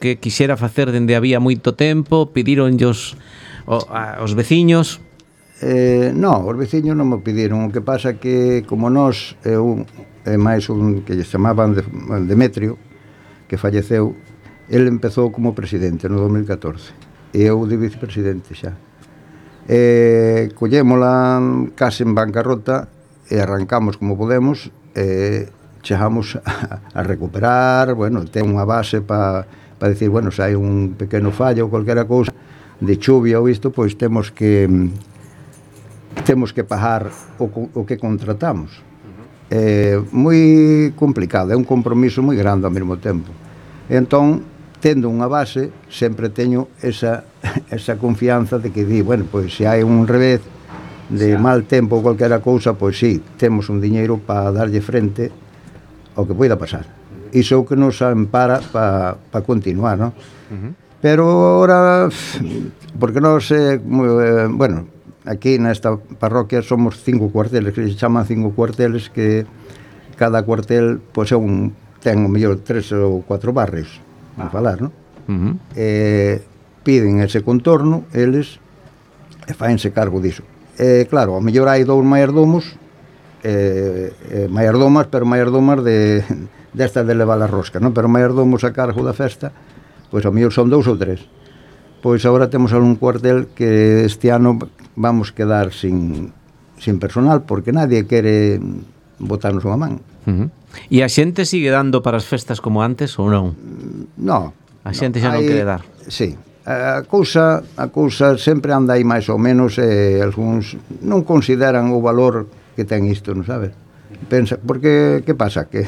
que quixera facer dende había moito tempo? Pidíronllos os veciños? Non, os veciños non me pediron. O que pasa que, como nós, eu e máis un que lle chamaban Demetrio, que falleceu, ele empezou como presidente no 2014 e eu de vicepresidente xa. Collémola case en bancarrota e arrancamos como podemos, chegamos a recuperar, bueno, ten unha base para decir, bueno, se hai un pequeno fallo ou calquera cousa de chuvia ou isto, pois temos que pagar o que contratamos. Moi complicado, é un compromiso moi grande ao mesmo tempo. Entón, tendo unha base, sempre teño esa confianza de que di, bueno, pois se hai un revés de mal tempo ou calquera cousa, pois sí, temos un diñeiro para darlle frente ao que poida pasar. Iso é o que nos ampara para continuar, non? Pero ahora, porque nós, bueno, aquí nesta parroquia somos 5 cuarteles, que se chaman 5 cuarteles, que cada cuartel pois ten o mellor 3 ou 4 barrios, a falar, non? Piden ese contorno, eles, e faense cargo diso. Claro, ao mellor hai 2 maiordomos, pero maiordomas desta de levar a rosca, non? Pero maiordomos a cargo da festa, pois ao mellor son 2 ou 3. Pois agora temos algún cuartel que este ano vamos quedar sin personal, porque nadie quere botarnos unha man. E a xente sigue dando para as festas como antes ou non? Non. A xente xa non quere dar? Sí. A cousa sempre anda aí máis ou menos, e algúns non consideran o valor que ten isto, non sabes? Pensa, porque que pasa? Que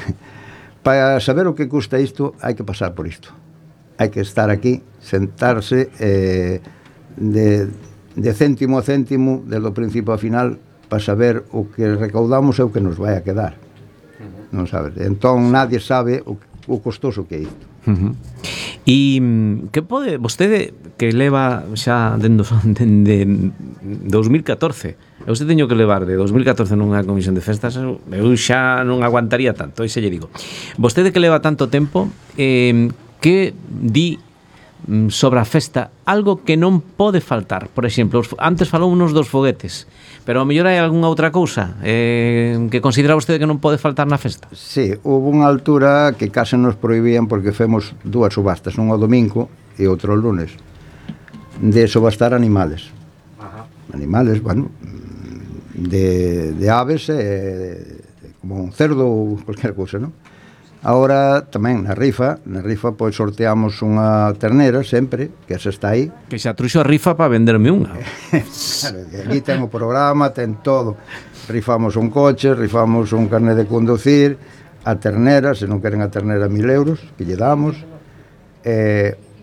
para saber o que custa isto hai que pasar por isto. Hai que estar aquí, sentarse de céntimo a céntimo, desde o principio ao final, para saber o que recaudamos e o que nos vai a quedar. Non sabes? Entón, nadie sabe o costoso que é isto. E que pode vostede, que leva xa dende 2014, eu se teño que levar de 2014 nunha comisión de festas, eu xa non aguantaría tanto, e xe lle digo. Vostede que leva tanto tempo, que di sobre a festa algo que non pode faltar? Por exemplo, antes falounos dos foguetes, pero a mellor hai algunha outra cousa que considera vostede que non pode faltar na festa? Sí, houve unha altura que case nos prohibían, porque femos 2 subastas, unha o domingo e outra o lunes, de subastar animales. Animales, bueno, de aves, como un cerdo ou cualquier cousa, non? Agora tamén na rifa pois sorteamos unha ternera sempre, que esa está aí. Que xa truxo a rifa para venderme unha. Claro, aquí ten o programa, ten todo. Rifamos un coche, rifamos un carné de conducir, a ternera, se non queren a ternera 1.000 euros, que lle damos,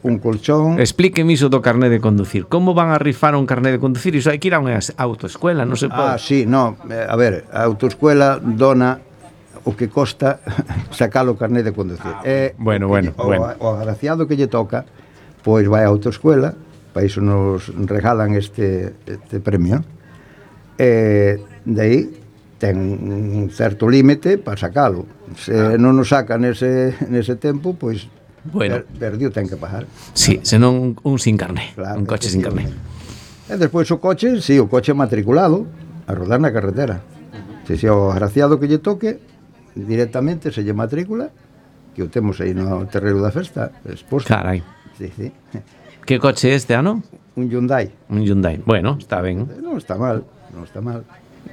un colchón. Explíqueme iso do carné de conducir. Como van a rifar un carné de conducir? Iso hai que ir a unha autoescuela, non se pode. Sí, non, a ver, a autoescuela dona o que costa sacar o carné de conducir. Bueno. O agraciado que lle toca, pois vai a autoescuela, para iso nos regalan este premio. De aí ten un certo límite para sacalo. Se non nos saca nese tempo, pois perdiu, ten que pagar. Sí, senón un sin carné, claro, un coche sin carné. E despois o coche, sí, o coche matriculado, a rodar na carretera. Se o agraciado que lle toque, directamente se lle matrícula, que o temos aí no terreno da festa exposto. Carai. Sí. Que coche é este ano? Un Hyundai. Bueno, está ben. Non está mal.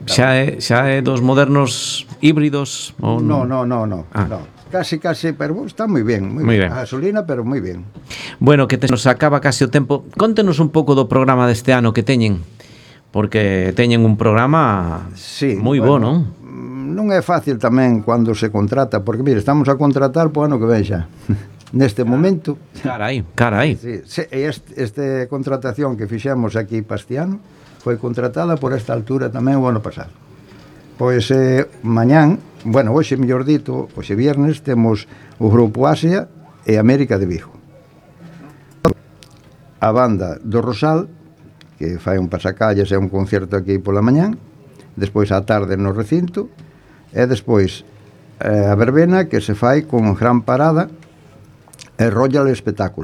Xa é dos modernos híbridos? No. Casi, pero está moi ben. A gasolina, pero moi ben. Bueno, que nos acaba casi o tempo. Contenos un pouco do programa deste ano que teñen, porque teñen un programa moi bo, non? Non é fácil tamén cando se contrata, porque, mire, estamos a contratar po ano que ven xa. Neste momento. Carai. Sí, esta contratación que fixemos aquí para este ano foi contratada por esta altura tamén o ano pasado. Pois mañán, bueno, hoxe mellor dito, hoxe viernes, temos o Grupo Asia e América de Vigo. A banda do Rosal, que fai un pasacalles e un concerto aquí pola mañán, despois á tarde no recinto, e despois a verbena que se fai con gran parada e Royal Espectáculo.